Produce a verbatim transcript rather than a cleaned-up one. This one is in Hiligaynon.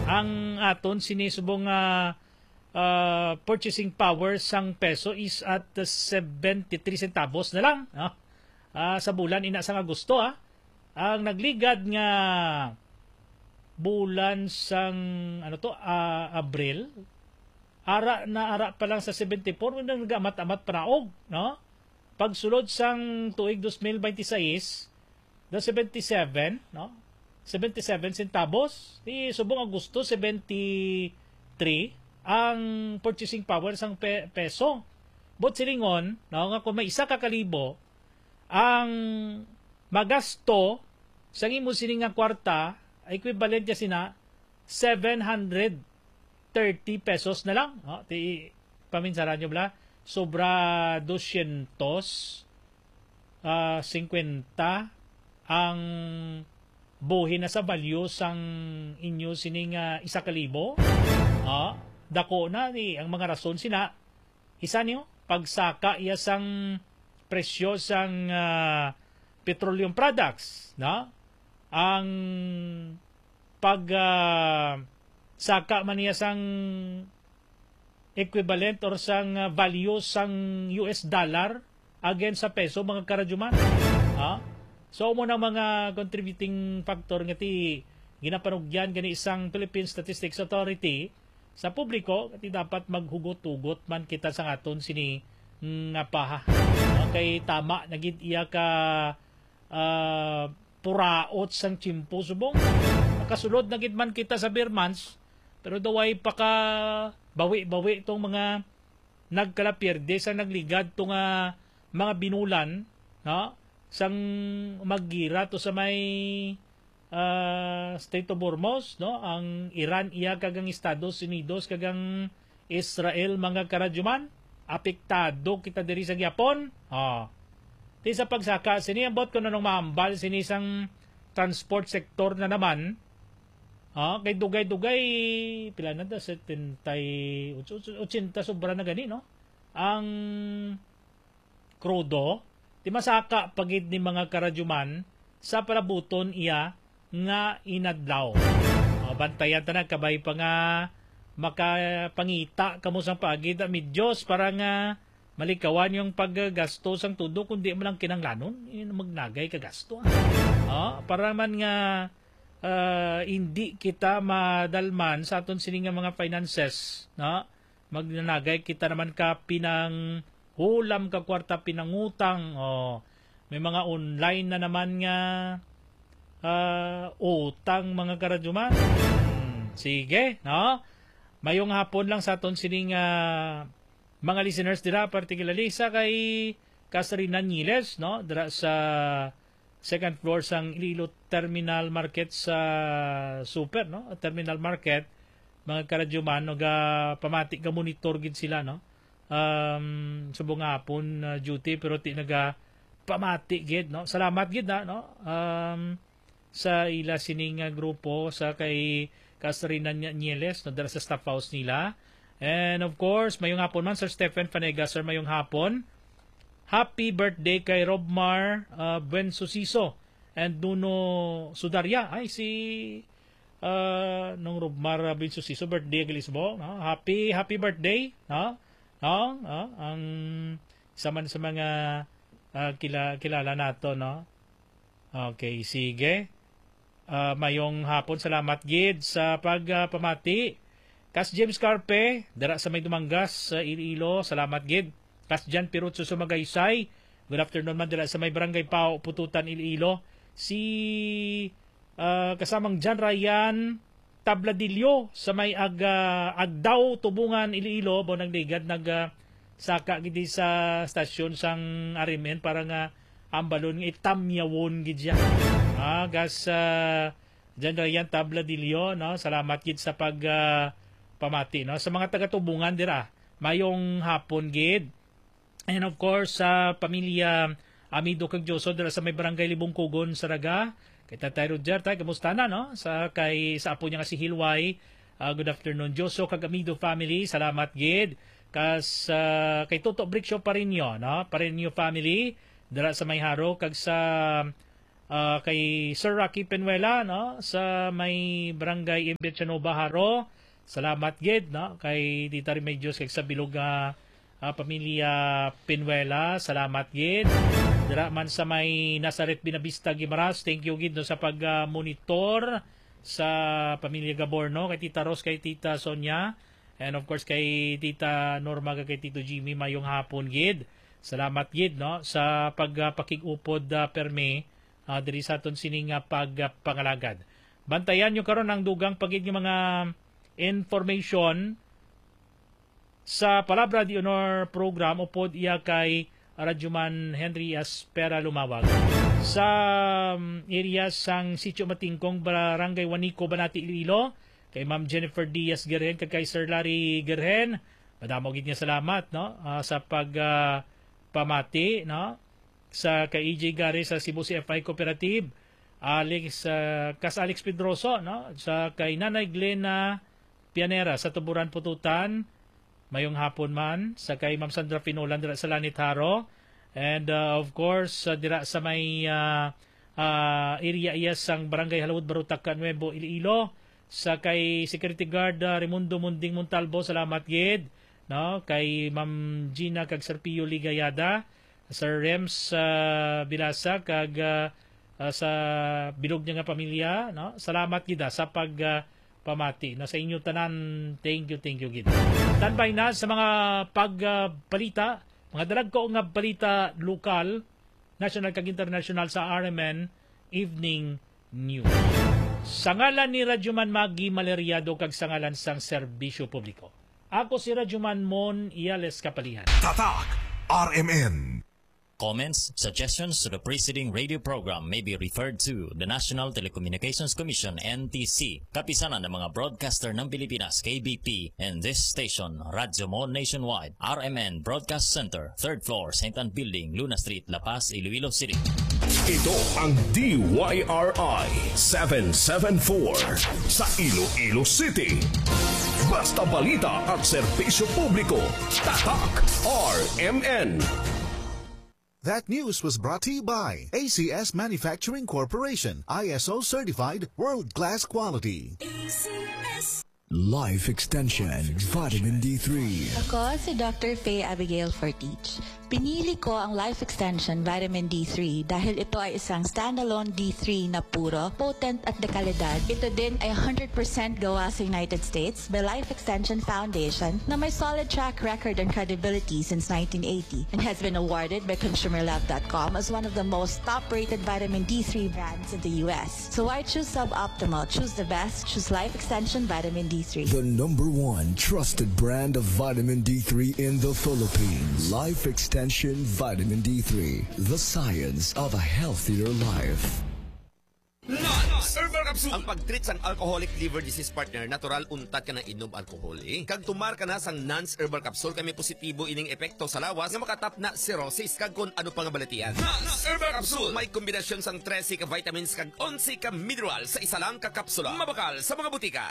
Ang aton sini subong nga, ah, purchasing power sang peso is at seventy-three centavos na lang, no? Ah, sa bulan ina sang Agosto, ah. Ang nagligad nga bulan sang, ano to, ah, Abril, ara na ara pa lang sa seventy-four, nagamat-amat panaog, no? Pagsulod sang tuig dos mil baynte sais, the seventy-seven, no? Seventy-seven centavos. Di subong Agosto, seventy-three ang purchasing power sang pe-, peso. But silingon, no, nga kung may isa ka kalibo ang magasto sang imo sini nga kwarta, equivalent niya sina seven hundred thirty pesos na lang, no? Ti paminsaran nyo bala, sobra dosyentos, ah, singkwenta ang buhi na sa value sang inyo sini nga isa ka libo. Ah, dako na ni ang mga rason sina. Isa niyo, pagsaka iya sang presyo sang, ah, petroleum products, no? Ang pag, ah, saka man niya sang equivalent or sang, ah, value sang U S dollar against sa peso, mga karadyuman. Ha? So, mo na mga contributing factor nga ti ginapanugyan gani sang Philippine Statistics Authority sa publiko, nga ti dapat maghugot-hugot man kita sa aton sini nga paha. No? Kay tama na gid iya ka, ah, puraot sang tiyempo subong. Makasulod na gid man kita sa Ber months, pero daw ay paka bawi-bawi tong mga nagkalapierde sa nagligad to nga mga binulan, no? Sang maggira to sa may, ah, Strait of Hormuz, no? Ang Iran iya kag ang Estados Unidos kag ang Israel, mga karadyuman, apektado kita diri sa gihapon. Oh. Ti sa pagsaka sini, ambot kung anong mahambal sini sang transport sector na naman. Ah, kay dugay-dugay, pila na ta? Setenta y ocho, ochenta sobra na gani, no? Ang krudo, ti masaka pa gid ni, mga karadyuman, sa palabuton iya nga inadlaw. O, bantayan ta na, kabay pa nga makapangita kamo sang paagi, da, mi Dios, para nga malikawan yung paggasto sang tudo, kundi mo lang kinanglanon, yun, magnagay ka gasto, ah. Ah, para man nga, ah, hindi kita madalman sa aton sini nga mga finances, no? Magnanagay kita naman ka pinang hulam ka kwarta pinangutang. Oh, may mga online na naman nga, ah, utang, mga karadyuman. Hmm, sige, no? Mayong hapon lang sa aton sining, ah, mga listeners dira, particularly sa kay Kasrina Niles, no? Dira sa second floor sang Iloilo Terminal Market sa Super, no? Terminal Market, mga karadyuman, no? Ga pamati, ga monitor gid sila, no? Um, subong nga hapon, uh, duty, pero ti naga pamati gid, no? Salamat gid na, no? Um, sa ila sining, uh, grupo, sa kay Kasrina Nya-, Nieles, no? Dira sa staff house nila. And of course, mayong hapon man, Sir Stephen Fanegas, sir, mayong hapon. Happy birthday kay Robmar, uh, Buensusiso and Nuno Sudaria. Ay, si, uh, nung Robmar, uh, Buensusiso, birthday, Gilisbo, no? Happy, happy birthday, no? No? No? Ang isa man sa mga, uh, kila-, kilala nato, no? Okay, sige. Ah, mayong hapon, salamat gid sa pag, ah, pamati. Kas James Carpe, dira sa may Dumangas, sa Iloilo, salamat gid. Kas Jan Pirutso sa Magaysay, good afternoon man dira sa may Barangay Pao, Pututan, Iloilo. Si, ah, kasamang Jan Ryan Tabladillo sa may Ag-, ah, Agdao, Tubungan, Iloilo, bo nagligad, nag, ah, saka gid sa stasyon sang R M N para nga ambalon nga itamyawon gid siya. Ah, gas, ah, Jan Ryan Tabladillo, no? Salamat gid sa pag, ah, pamati, no? Sa mga taga-Tubungan dira, mayong hapon gid. And of course, sa pamilya Amido kag Joso dira sa may Barangay Libungkugon, Saraga. Kay Tatay Roger, tay, kamusta na, no? Sa kay, sa apo niya nga si Hilway, ah, good afternoon, Joso kag Amido family. Salamat gid. Kas, ah, kay Toto Brixio Parinio, no? Parinio family dira sa may Jaro, kag sa Ah, kay Sir Rocky Penuela, no, sa may Barangay Imbiachanova, Jaro. Salamat gid, no, kay Tita Remedios kag sa bilog nga, ah, pamilya Penuela. Salamat gid. Dira man sa may Nazaret Buenavista, Guimaras, thank you gid, no, sa pag, ah, monitor sa pamilya Gaborno, kay Tita Ros, kay Tita Sonia, and of course kay Tita Norma kag kay Tito Jimmy, mayong hapon gid. Salamat gid, no, sa pag, ah, pakig-upod, ah, permi, ah, diri sa aton sini nga pagpangalagad. Bantayan nyo karon ang dugang pa gid nga mga information sa Palabra de Honor program upod iya kay Radyoman Henry Aspera Lumawag. Sa, um, area sang Sitio Matingkong, Barangay Juanico, Banati, Iloilo, kay Ma'am Jennifer Diaz Gerhen kag kay Sir Larry Gerhen, madamo gid nga salamat, no, ah, sa pag, ah, pamati, no, sa kay E J Gare sa Cebu C F I Cooperative, Alex, ah, kas Alex Pedroso, no, sa kay Nanay Glena Pianera sa Tuburan, Pututan, mayong hapon man, sa kay Ma'am Sandra Finolan dira sa Lanit, Jaro, and, ah, of course, ah, dira sa may, ah, ah, area iya sang Barangay Halawod, Barutaca, Nuevo, Iloilo, sa kay Security Guard, ah, Raimundo Munding Montalvo, salamat gid, no, kay Ma'am Gina kag Sir Pio Ligayada, Sir Rems, ah, Bilasa, kag, ah, ah, sa bilog niya nga pamilya, no? Salamat gid, ah, sa pag, ah, pamati, no? Sa inyo tanan, thank you, thank you gid. Standby na sa mga pag, ah, balita, mga dalagko nga balita lokal, national kag international sa R M N Evening News. Sa ngalan ni Radyoman Maggie Maleriado kag sa ngalan sang serbisyo publiko, ako si Radyoman Mon Iales Kapalihan. Tatak R M N. Comments, suggestions to the preceding radio program may be referred to the National Telecommunications Commission, N T C, Kapisanan ng mga Broadcaster ng Pilipinas, K B P, and this station, Radyo Mon Nationwide, R M N Broadcast Center, third floor, Saint Ann Building, Luna Street, La Paz, Iloilo City. Ito ang D Y R I seven seven four sa Iloilo City. Basta balita at serbisyo publiko, Tatak R M N. That news was brought to you by A C S Manufacturing Corporation, I S O certified, world-class quality. Life Extension Vitamin D three. Ako si Doctor Faye Abigail Fortich. Pinili ko ang Life Extension Vitamin D three dahil ito ay isang standalone D three na puro, potent at dekalidad. Ito din ay hundred percent gawa sa United States by Life Extension Foundation na may solid track record and credibility since nineteen eighty and has been awarded by consumer love dot com as one of the most top-rated vitamin D three brands in the U S. So why choose suboptimal? Choose the best. Choose Life Extension Vitamin D three. The number one trusted brand of vitamin D three in the Philippines. Life Extension Vitamin D three, the science of a healthier life. Nans Herbal Capsule. Ang pag-treat sang alcoholic liver disease, partner, natural, untat ka nang inom alcohol, eh. Kag tumar ka na sang Nans Herbal Capsule, kay may positibo ining epekto sa lawas nga makatapna cirrhosis kag kon ano pa nga balatian. Nans Herbal Capsule. May kombinasyon sang trese ka vitamins kag onse ka mineral sa isa lang ka kapsula. Mabakal sa mga butika.